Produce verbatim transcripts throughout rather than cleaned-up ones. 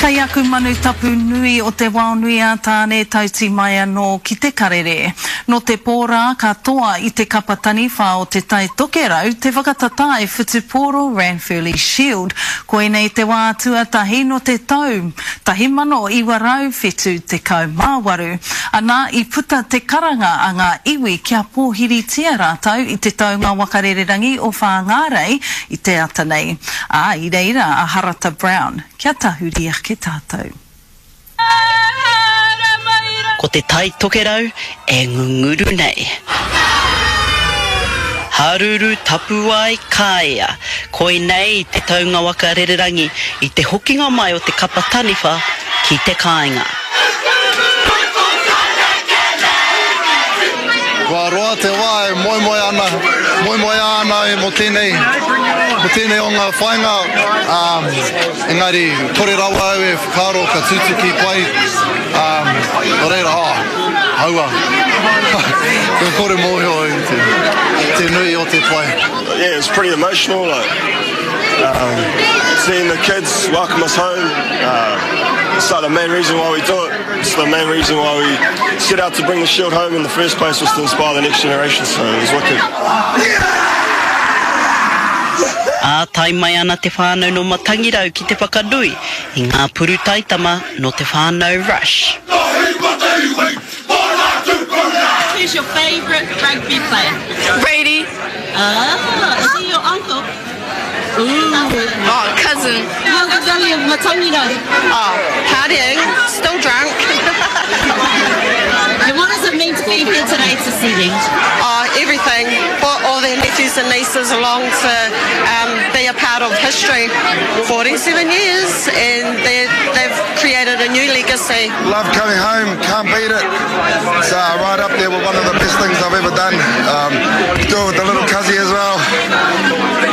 Kei aku manu tapu nui o te wao nui a Tāne tauti mai anō ki te karere. Nō te pō rā ka toa i te kapa taniwha o Te Tai Tokerau te whakatatae whutupōro Ranfurly Shield. Koinei te wā tuatahi nō te tau tahi mano iwa rau whitu tekau mā waru. Ana, i puta te karanga a ngā iwi kia pōhiritia rātou i te taunga waka rererangi o Whāngārei i te ata nei. Ā, i reira a Harata Brown. Kia tahuri ake tātou. Ko Te Tai Tokerau e ngunguru nei. Haruru tapuwae kāea. Koinei te taunga waka rererangi i te hokinga mai o te kapa taniwha ki te kāinga. Kua roa te wā e moemoe ana, moemoeā ana e mō tēnei, mō tēnei o ngā whāinga, ā, engari kore rawa au e whakaaro ka tutuki pai, ā, nō reira, oh, aua, kua kore mōhio i te, te nui o te pai. Yeah, it's pretty emotional, like, um, seeing the kids welcome us home, uh, it's like the main reason why we do it. It's the main reason why we set out to bring the shield home in the first place was to inspire the next generation, so it was wicked. Ā, tae mai ana te whānau nō Matangirau ki te whakanui i ngā puru taitama nō te whānau Rush. Who's your favourite rugby player? Brady. Ah, is he your uncle? Ooh. Oh, cousin. How's the valley of Matangirau? Oh, partying. Still drunk. And what does it mean to be here today to see them? Oh, everything. Brought all their nephews and nieces along to um, be a part of history. forty-seven years, and they've created a new legacy. Love coming home, can't beat it. It's uh, right up there with one of the best things I've ever done. Um, do it with the little cuzzy as well.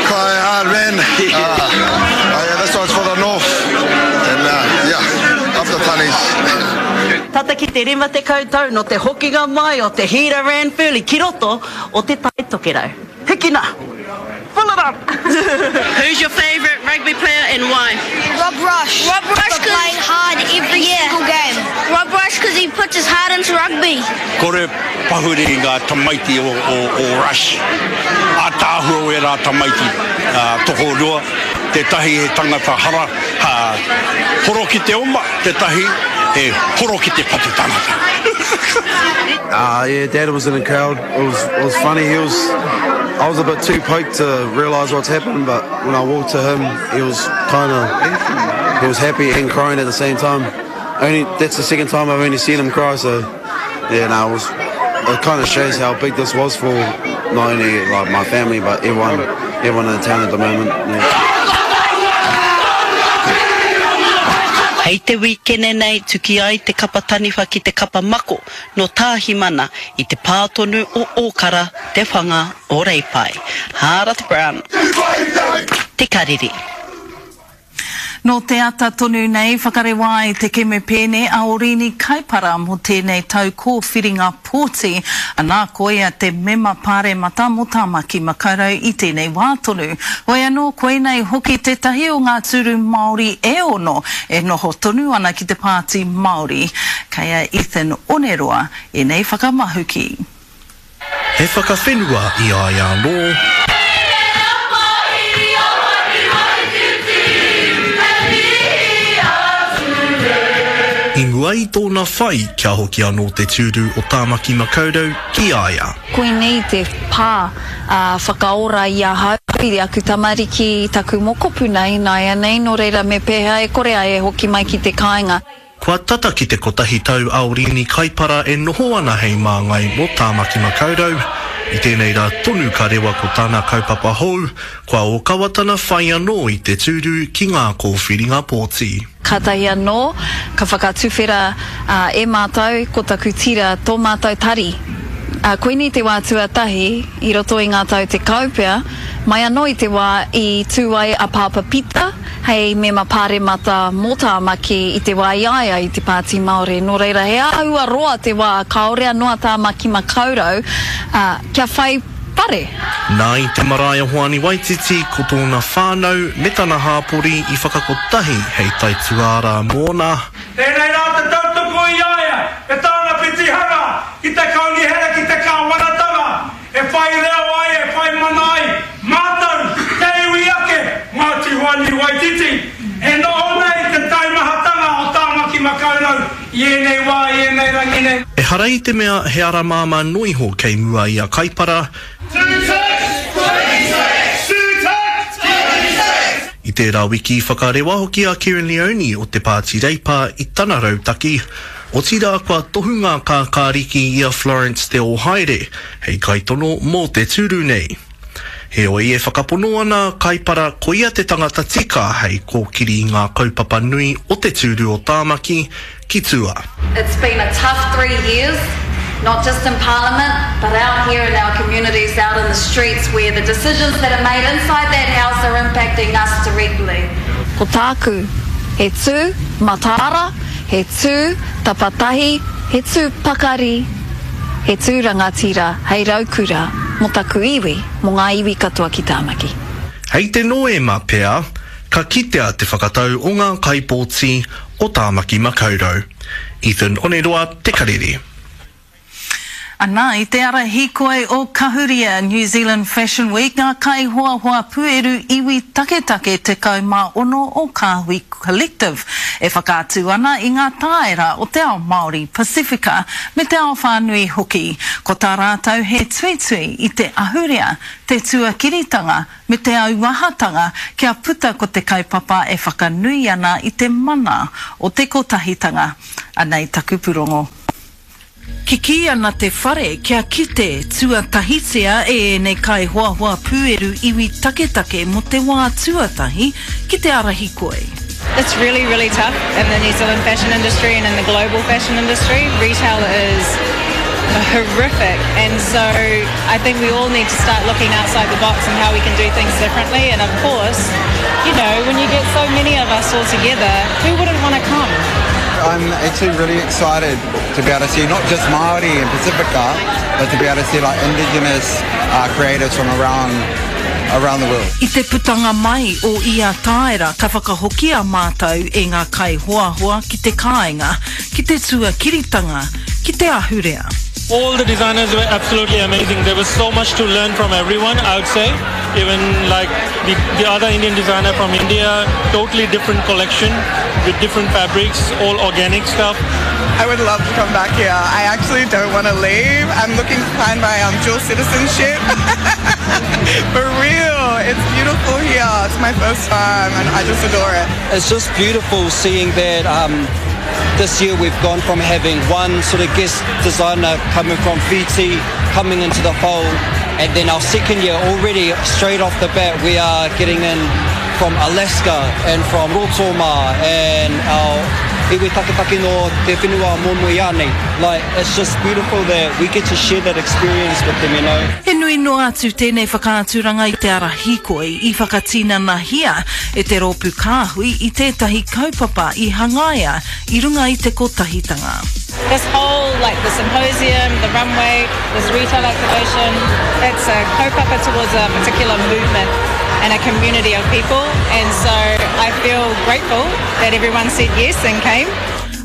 Quite hard, man. Uh, oh yeah, this one's for the north. And uh, yeah, up the tunnies. Tata ki te rima tekau tau no te hokinga mai o te Hira Ranfurly ki roto o Te Tai Tokerau. Hikina! Fill it up! Who's your favourite rugby player and why? Rob Rush. Rob Rush For playing hard every single game. Rob Rush because he puts his heart into rugby. Kore pahure ngā tamaiti o, o, o Rush. Ātaahua o ērā tamaiti uh, tokorua. Tētahi he tangata hara, ha, horo ki te oma, tētahi he horo ki te patu tangata. Uh, yeah, Dad was in the crowd. It was, it was funny. He was, I was a bit too poked to realise what's happened, but when I walked to him, he was kind of, he was happy and crying at the same time. Only that's the second time I've only seen him cry. So, yeah, no, it was. It kind of shows how big this was for not only like my family, but everyone, everyone in the town at the moment. Yeah. Hei te wīkene nei tuki ai te kapa taniwha ki te kapa mako no Tāhimana i te pā tonu o Ōkara, te whanga o Reipae. Hārata Brown, Te Karere. Nō te ata tonu nei whakarewa ai te kemepēne a Orini Kaipara mō tēnei tau kōwhiringa pōti. Anā, koia te mema pāremata mō Tāmaki Makaurau i tēnei wā tonu. Hoi anō, koinei hoki tētahi o ngā tūru Māori e ono e noho tonu ana ki te Pāti Māori. Kei a Ethan Oneroa ēnei whakamahuki. He whakawhenua i a ia anō. I mua i tōna whai kia hoki anō te tūru o Tāmaki Makaurau ki a ia. Koinei te pā, ā, whakaora i ahau, i aku tamariki, i taku mokopuna ināianei, nō reira me pēhea e kore ai e hoki mai ki te kāinga. Kua tata ki te kotahi tau a Orini Kaipara e noho ana hei māngai mō Tāmaki Makaurau. I tēnei rā tonu ka rewa ko tāna kaupapa hou, kua ōkawa tana whai anō i te tūru ki ngā kōwhiringa pōti. Kātahi anō, ka whakatuwhera e mātou ko taku tira tō mātou tari. Koinei te wā tuatahi i roto i ngā tau tekau pea, mai anō i te wā i tū ai a Pāpā Pita hei mema pāremata mō Tāmaki i te wā i a ia i te Pāti Māori. Nō reira, he āhua roa te wā kāore anō a Tāmaki Makaurau kia whai pā whare. Nā i te marae o Hoani Waititi, ko tōna whānau me tana hāpori i whakakotahi hei taituārā mōna. Tēnei rā te tautoko i a ia, e tāna pitihana, ki te kaunihera, ki te kāwanatanga, e whai reo ai, e whai mana ai, mātou, te iwi ake, Ngāti Hoani Waititi, e noho nei te taimahatanga o Tāmaki Makaurau i ēnei wā, i ēnei rangi nei. Ehara i te mea he ara māmā noa iho kei mua i a Kaipara. I tērā wiki whakarewa hoki a Kerrin Leoni o te Pāti Reipa i tana rautaki, otirā kua tohu ngā kākāriki i a Florence Te Ohaere hei kaitono mō te tūru nei. Heoi e whakapono ana Kaipara koia te tangata tika hei kōkiri i ngā kaupapa nui o te tūru o Tāmaki ki tua. It's been a tough three years, not just in Parliament, but out here in our communities, out in the streets where the decisions that are made inside that house are impacting us directly. Ko tāku, he tū mataara, he tū tapatahi, he tū pakari, he tū rangatira, hei raukura, mō taku iwi, mō ngā iwi katoa ki Tāmaki. Hei te Noema pea, ka kitea te whakatau o ngā kaipōti o Tāmaki Makaurau. Ethan Oneroa, Te Karere. Ana, i te ara hīkoi o Kahuria New Zealand Fashion Week, ngā kaihoahoa pūeru iwi taketake tekau mā ono o Kāhui Collective e whakaatu ana i ngā tāera o te ao Māori Pasifika me te ao whānui hoki. Ko tā rātou he tuitui i te ahurea, te tuakiritanga me te auahatanga kia puta ko te kaupapa e whakanui ana i te mana o te kotahitanga. Anei taku purongo. Kiki ana te whare kia kite tuatahitia e ēnei kaihoahoa pūeru iwi taketake mō te wā tuatahi ki te ara hīkoi. It's really, really tough in the New Zealand fashion industry and in the global fashion industry. Retail is horrific, and so I think we all need to start looking outside the box and how we can do things differently. And of course, you know, when you get so many of us all together, who wouldn't want to come? I'm actually really excited to be able to see not just Māori and Pasifika, but to be able to see like indigenous uh, creators from around around the world. I te putanga mai o ia tāera ka whakahokia mātou e ngā kaihoahoa ki te kāinga, ki te tuakiritanga, ki te ahurea. All the designers were absolutely amazing. There was so much to learn from everyone, I would say. Even like the, the other Indian designer from India, totally different collection with different fabrics, all organic stuff. I would love to come back here. I actually don't want to leave. I'm looking to find my um, dual citizenship. For real, it's beautiful here. It's my first time and I just adore it. It's just beautiful seeing that um, this year we've gone from having one sort of guest designer coming from Fiji, coming into the fold, and then our second year already, straight off the bat, we are getting in from Alaska and from Rotoma and our iwi taketake no te whenua Momoiane. Like, it's just beautiful that we get to share that experience with them, you know. He nui noa atu tēnei whakaaturanga i te ara hīkoi i whakatinanahia e te rōpū kāhui i tētahi kaupapa i hangaia i runga i te kotahitanga. This whole, like the symposium, the runway, this retail activation, it's a kaupapa towards a particular movement and a community of people, and so I feel grateful that everyone said yes and came.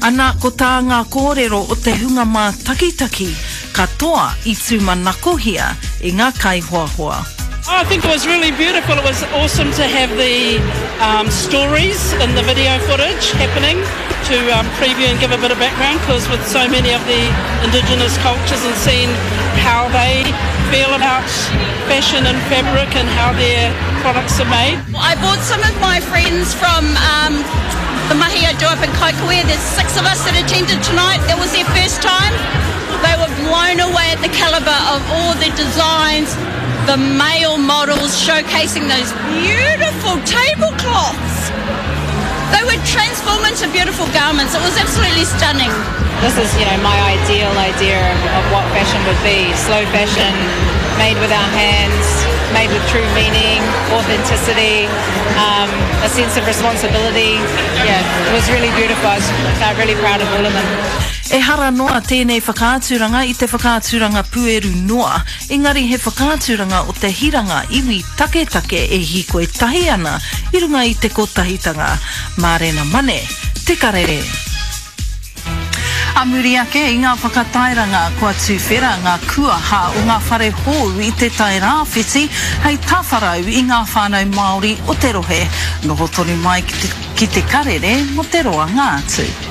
Ana ko tā ngā kōrero o te hunga mātakitaki, katoa i tūmanakohia i ngā kaihoahoa. I think it was really beautiful. It was awesome to have the um, stories in the video footage happening to um, preview and give a bit of background, because with so many of the indigenous cultures and seeing how they feel about fashion and fabric and how their products are made. I brought some of my friends from um, the mahi I do up in Kaikohe. There's six of us that attended tonight. It was their first time. They were blown away at the calibre of all the designs, the male models showcasing those beautiful tablecloths. They would transform into beautiful garments. It was absolutely stunning. This is, you know, my ideal idea of, of what fashion would be. Slow fashion, made with our hands, made with true meaning, authenticity, um, a sense of responsibility. Yeah, it was really beautiful. I was felt really proud of all of them. Ehara noa tēnei whakaaturanga i te whakaaturanga pueru noa, engari he whakaaturanga o te hiranga iwi taketake e hīkoi tahi ana i runga i te kotahitanga. Mārena Mane, Te Karere. A muri ake i ngā whakatairanga kua tuwhera ngā kuaha o ngā whare hou i Te Tai Rāwhiti hei tāwharau i ngā whānau Māori o te rohe. Noho tonu mai ki te, ki te Karere mō te roanga atu.